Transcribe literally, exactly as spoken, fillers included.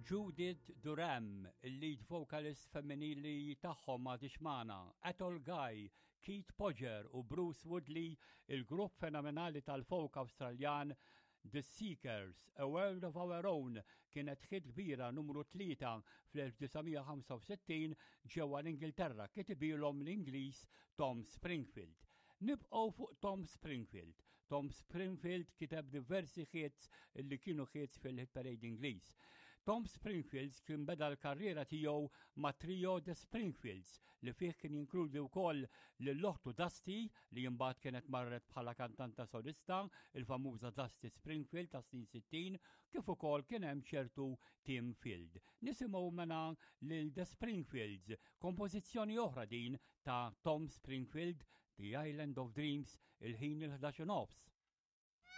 Judith Durham, il-lead vocalist femminili tagħhom m'għadhiex magħna, Athol Guy, Keith Podger u Bruce Woodley, il-grupp fenomenali tal-folk Awstraljan The Seekers, A World of Our Own, kienet hit kbira numru tlieta fl-elf disa' mija ħamsa u sittin ġewwa l-Ingilterra, kitibilhom l-Ingliż Tom Springfield. Nibqgħu fuq Tom Springfield. Tom Springfield kiteb diversi hits li kienu hits fil-hit parade Ingliż. Tom Springfield kien beda l-karriera tiegħu ma' trio The Springfields li fih kien jinkludi wkoll lil oħtu Dusty, li imbagħad kienet marret bħala kantanta solista, il-famuża Dusty Springfield ta' snin sittin, kif ukoll kien hemm ċertu Tim Field. Nisimgħu mela lil The Springfields, kompożizzjoni oħra din ta' Tom Springfield, The Island of Dreams, il-ħin il-ħdax nofs.